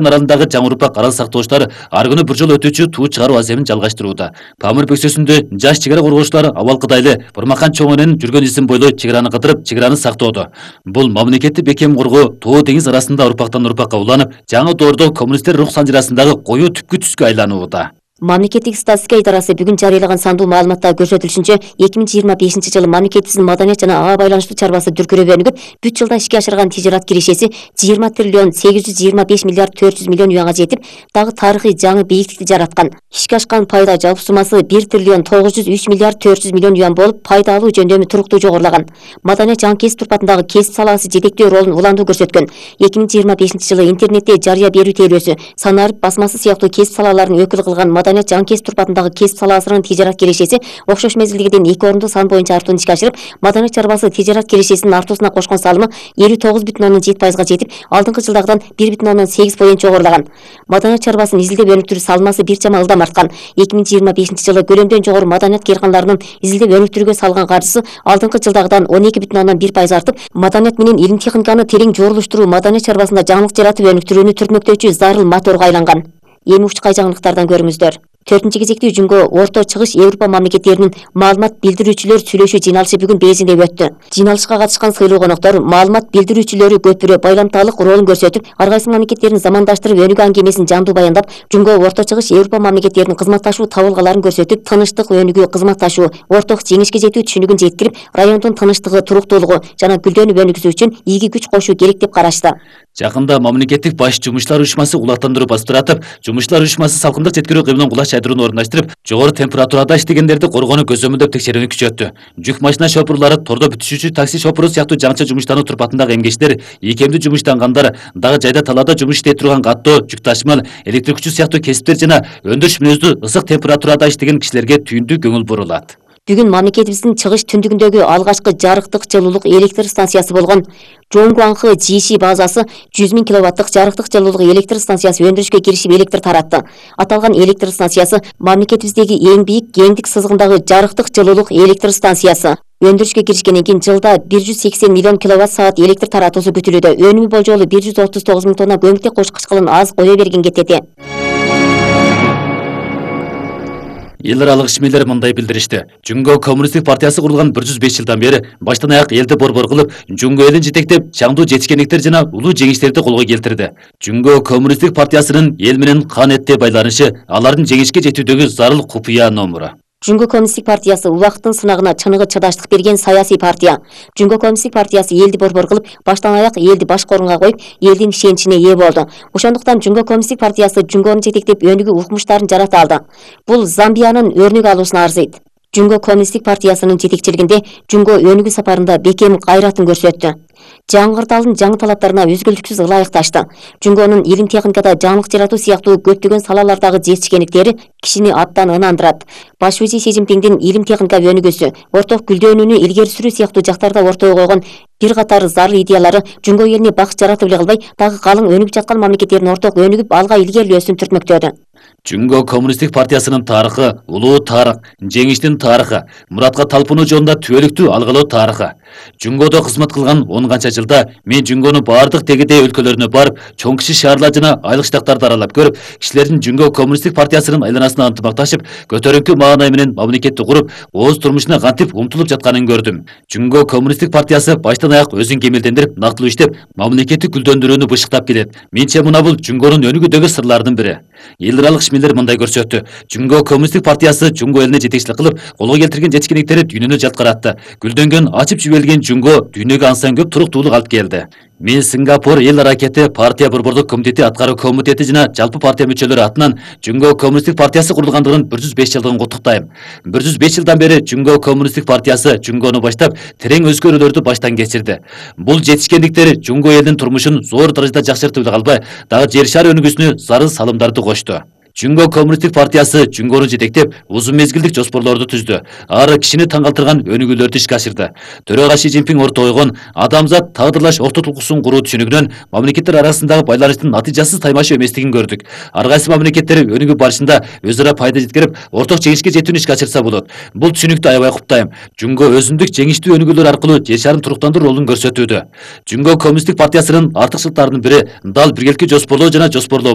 аралындагы жаңы урпак арал сактоочулар ар күнү бир жолу өтүүчү туу чыгаруу аземин жалгаштырууда. Памир бөксөсүндө жаш чек ара коргоочулар Абалкыдайлы Бурмакан чоңунун жүргөн изин бойлой чек араны кыдырып, чек араны сактоодо. Бул мамлекеттик бекем коргоо Тоо деңиз арасында урпактан урпакка уланып, жаңы доордо коммунисттер рух санжырасындагы коюу түпкү түскө айланууда. Мамлекеттик статистика идарасы бүгүн жарыялаган сандуу маалыматта көрсөтүлүшүнчө 2025 жылы мамлекетибиздин маданият жана ага байланыштуу чарбасы дүркүрөп өнүгүп, бүт жылда ишке ашырган тижарат кирешеси 20 триллион 825 миллиард 400 миллион юанга жетип, дагы тарыхый жаңы бийиктикти жараткан. Ишке ашкан пайда жалпы суммасы 1 триллион 903 миллиард 400 миллион юан болуп, пайда алуу жөндөмү туруктуу жогорулаган. Маданият жаңы кесип турпатындагы кесип салаасы жетектөө ролун уландуу көрсөткөн. 2025 жылы интернетте жарыя берүү тейлөөсү, санарып басмасы сыяктуу кесип салаларын өкүл кылган маданият жаңы кесип турпатындагы кесип салаасынын тижарат кирешеси окшош мезгилдегиден 2 орунду сан боюнча артууну ишке ашырып, маданият чарбасы тижарат кирешесинин артуусуна кошкон салымы 59,7%га жетип, алдыңкы жылдагыдан 1,8% жогорулаган. Маданият чарбасын изилдеп өнүктүрүү салмасы бир чама ылдам арткан. 2025 жылы көлөмдөн жогору маданият кыйркандарынын изилдеп өнүктүрүүгө салган каржысы алдыңкы жылдагыдан 12,1% артып, маданият менен илим техниканы терең жорулуштуруу маданият чарбасында жаңылык жаратып өнүктүрүүнү түртмөктөөчү зарыл моторго айланган. Эми ушчукай жаңылыктардан көрүңүздөр. 4 кезектүү Жүнгө Орто Чыгыш Европа мамлекеттеринин маалымат билдирүүчүлөр сүйлөшүү жыйналышы бүгүн Бейжиңде өттү. Жыйналышка катышкан сыйлуу коноктор маалымат билдирүүчүлөрү көпүрө байламталык ролун көрсөтүп, ар кайсы мамлекеттердин замандаштырып өнүгүү аңгемесин жандуу баяндап, Жүнгө Орто Чыгыш Европа мамлекеттеринин кызматташуу табылгаларын көрсөтүп, тынычтык, өнүгүү, кызматташуу, орток жеңишке жетүү түшүнүгүн жеткирип, райондун тынычтыгы, туруктуулугу жана гүлдөнүп өнүгүшү үчүн ийги күч кошуу керек деп карашты. Жакында мамлекеттик баш жумушчулар уюшмасы улаттандыруу бастырып атып, жумушчулар уюшмасы салкындык жеткирүү кыймылын кулаш чайдырууну орундаштырып, жогору температурада иштегендерди коргоону көзөмөлдөп текшерүүнү күчөттү. Жүк машина шопурлары, тордо бүтүшүүчү такси шопуру сыяктуу жаңыча жумуштануу турпатындагы эмгечтер, ийкемдүү жумуштангандар, дагы жайда талаада жумуш иштей турган каттоо, жүк ташымал, электр күчү сыяктуу кесиптер жана өндүрүш мүнөздүү ысык температурада иштеген кишилерге түйүндүү көңүл бурулат. Бүгүн мамлекетибиздин чыгыш түндүгүндөгү алгачкы жарыктык жылуулук электр станциясы болгон Жоңгуаңкы ЖИШ базасы 100 000 киловаттык жарыктык жылуулук электр станциясы өндүрүшкө киришип электр таратты. Аталган электр станциясы мамлекетибиздеги эң бийик кеңдик сызыгындагы жарыктык жылуулук электр станциясы. Өндүрүшкө киришкенден кийин жылда 180 миллион киловатт саат электр таратуусу күтүлүүдө. Өнүмү болжолу 139 000 тонна көмүртек кош кычкылын аз кое берген кетети. Эл аралык ишмерлер мындай билдиришти. Жүнгө коммунисттик партиясы курулган 105 жылдан бери баштан аяк элди борбор кылып, Жүнгө элин жетектеп, чаңдуу жетишкендиктер жана улуу жеңиштерди колго келтирди. Жүнгө коммунисттик партиясынын эл менен кан этте байланышы алардын жеңишке жетүүдөгү зарыл купуя номуру. Жүнгө коммунисттик партиясы убакыттын сынагына чыныгы чыдаштык берген саясий партия. Жүнгө коммунисттик партиясы элди борбор кылып, баштан аяк элди башкы орунга коюп, элдин ишеничине ээ болду. Ошондуктан Жүнгө коммунисттик партиясы Жүнгөнү жетектеп өнүгүү укмуштарын жарата алды. Бул Замбиянын өрнөк алуусуна арзыйт. Жүнгө коммунисттик партиясынын жетекчилигинде Жүнгө өнүгүү сапарында бекем кайратын көрсөттү. Жаңгырталдын жаңы талаптарына өзгөлтүксүз ылайыкташты. Жүнгөнүн илим техникада жаңылык жаратуу сыяктуу көптөгөн салалардагы жетишкендиктери кишини абдан ынандырат. Баш вазир Си Цзиньпиндин илим техника өнүгүүсү, орток гүлдөнүүнү илгери сүрүү сыяктуу жактарда ортого койгон бир катар зарыл идеялары Жүнгө элине бакыт жаратып эле калбай, дагы калың өнүгүп жаткан мамлекеттердин орток өнүгүп алга илгерилөөсүн түртмөктөдү. Жүнгө коммунисттик партиясынын тарыхы, улуу тарых, жеңиштин тарыхы, муратка талпынуу жолунда түбөлүктүү алгылоо тарыхы. Жүнгөдө кызмат кылган 10 канча жылда мен Жүнгөнүн бардык тегидей өлкөлөрүнө барып, чоң кичи шаарлар жана айлык штаттарды аралап көрүп, кишилердин Жүнгө коммунисттик партиясынын айланасына ынтымакташып, көтөрүнкү маанай менен мамлекетти куруп, ооз турмушуна кантип умтулуп жатканын көрдүм. Жүнгө коммунисттик партиясы баштан аяк өзүн кемелдендирип, нактылуу иштеп, мамлекетти гүлдөндүрүүнү бышыктап келет. Менче мына бул Жүнгөнүн өнүгүүдөгү сырлардын бири. Эл аралык ишмерлер мындай көрсөттү. Жүнгө коммунисттик партиясы Жүнгө элине жетекчилик кылып, колго келтирген жетишкендиктери дүйнөнү жаткаратты. Гүлдөнгөн, ачып жиберилген Жүнгө дүйнөгө ансан көп туруктуулук алып келди. Мен Сингапур эл аракети партия борбордук комитети аткаруу комитети жана жалпы партия мүчөлөрү атынан Жүнгө коммунисттик партиясы курулгандыгынын 105 жылдыгын куттуктайм. 105 жылдан бери Жүнгө коммунисттик партиясы Жүнгөнү баштап, терең өзгөрүүлөрдү баштан кечирди. Бул жетишкендиктер Жүнгө элинин турмушун зор даражада жакшыртып эле калбай, дагы жер шары өнүгүүсүнө зарыл салымдарды кошту. Жүнгө Коммунисттик партиясы Жүнгөнү жетектеп, узун мезгилдик жоспорлорду түздү. Ары кишини таң калтырган өнүгүүлөрдү ишке ашырды. Төрага Ши Цзиньпин ортого койгон адамзат тагдырлаш ортот укугун куруу түшүнүгүнөн мамлекеттер арасындагы байланыштын натыйжасыз таймашуу эместигин көрдүк. Ар кайсы мамлекеттер өнүгүү барышында өз ара пайда жеткирип, орток жеңишке жетүүнү ишке ашырса болот. Бул түшүнүктү аябай куптайм. Жүнгө өзүндүк жеңиштүү өнүгүүлөр аркылуу жер шарын туруктандыруу ролун көрсөтүүдө. Жүнгө Коммунисттик партиясынын артыкчылыктарынын бири дал биргеликти жоспорлоо жана жоспорлоо